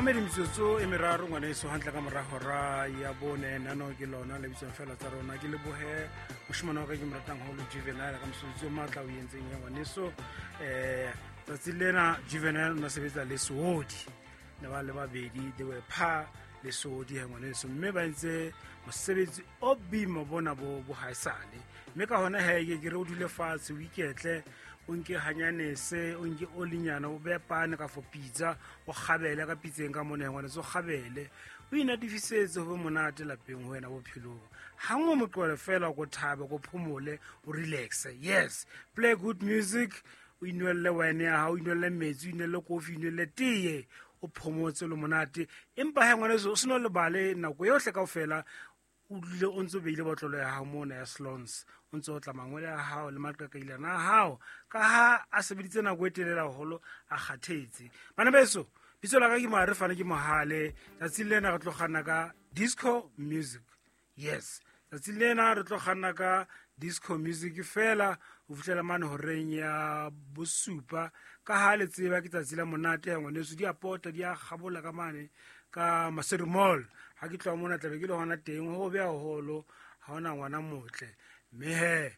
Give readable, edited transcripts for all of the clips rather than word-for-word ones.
Mamedi metsotso e meraro ngwaneso hantle ka mora hora ya bone nano ke lona le bitswang fela tsa rona. Ke lebohe moshimane wa ka ke mo ratang haholo, Juvenile, ka mosebetsi o matla o entseng ya ngwaneso. Tsatsi lena Juvenile o na sebetsa le Seodi, ne ba le babedi, they were pa le Seodi he ngwaneso, mme ba entse mosebetsi o boima bona bo haesale. Mme ka hona he ke re o dule fatshe, o iketle, o nke hanyanese, o nke olinyana, o beye pane ka fo pitsa, o kgabele ka pitseng ka mona ngwaneso, o kgabele, o inatifisetse, ho be monate lapeng ho wena bophelong. Gangwe moqwele fela ko thabe, ko phomole, o relaxe. Yes, play good music, o inwelle wine ya hao, o inwelle metsi, o inwelle kofi, o inwelle teye, o phomotse le monate. Empa he ngwaneso, o seno lebale nako yohle kaofela o dule o ntse o beile botlolo ya hao mona ya Slons, o ntse o tla mangwele a hao le maqaqailana a hao, ka ha a sebeditse nako e telele haholo, a kgathetse. Bana beso, bitso la ka ke Moare Fane, ke Mohale. Tsatsing lena re tlo kganna ka disco music. Yes, tsatsing lena re tlo kganna ka disco music fela ho fihlela mane horeng ya bosupa. Ka ha le tseba ke tsatsi la monate ya ngwaneso, di a pota, di a kgabola ka mane ka Maseru Mall. Ha ke tloha mona tlabe ke le hona teng, ho be haholo, ha hona ngwana motle. Mme he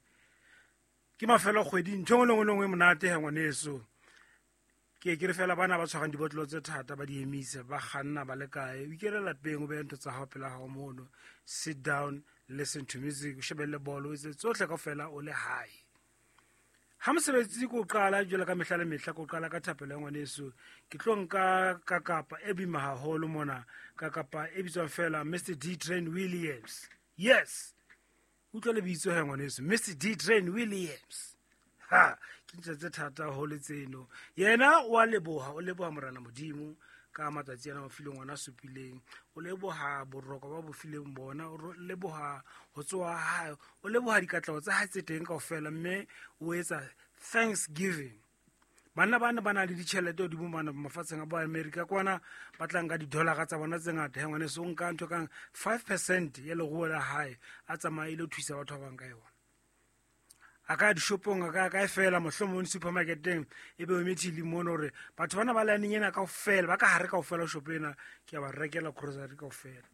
ke mafelo a kgwedi, ntho e nngwe le nngwe le nngwe e monate he ngwaneso. Ke ke re fela bana ba tshwarang dibotlolo tse thata ba di emise, ba kganna ba le kae, o ikele lapeng, o behe ntho tsa hao pela hao mono, sit down, listen to music, o shebelle bolo, o etse tsohle kaofela o le hae. Ha mosebetsi ko qala jwalo ka mehla le mehla, ko qala ka thapelo ya ngwaneso. Ke tlo nka kakapa e boima haholo mona, kakapa e bitswang fela Mr D Train Williams. Yes, utlwa lebitso he ngwaneso, Mr D Train Williams. Ha ke ntse tse thata haholo tseno. Yena o a leboha, o leboha Morena Modimo ka matsatsi ana a fileng ona supileng, o leboha boroko ba bo fileng bona, o leboha ho tsoha hae, o leboha dikatleho tsa hae tse teng kaofela, mme o etsa thanksgiving. Banna ba ne ba na le ditjhelete hodimo mane mafatsheng a bo America kwana, ba tlang ka di-dollar tsa bona tse ngata. He ngwaneso, o nka ntho kang 5% ya leruo la hae, a tsamaye ile ho thusa batho ba bang ka yona. A ka ya dishopong, a ka ya kae fela, mohlomong supermarketeng, e be o emethile mono hore batho bana ba laneng ena kaofela, ba ka hare kaofela shopo ena, ke a ba rekela grocery kaofela.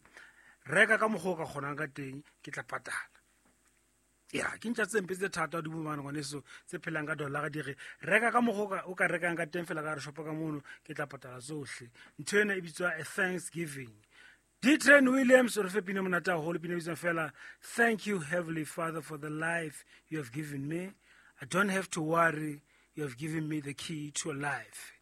Reka ka mokgwa o ka kgonang ka teng, ke tla patala. Ya, ke ntja tse mpe tse thata hodimo mane ngwaneso, tse phelang ka dollar, di re reka ka mokgwa o ka rekang ka teng fela ka hare shopo ka mono, ke tla patala tsohle. Ntho ena e bitswa a thanksgiving. D Train Williams o re fe pina monate haholo, pina e bitswang fela Thank You Heavenly Father for the life you have given me. I don't have to worry, you have given me the key to life.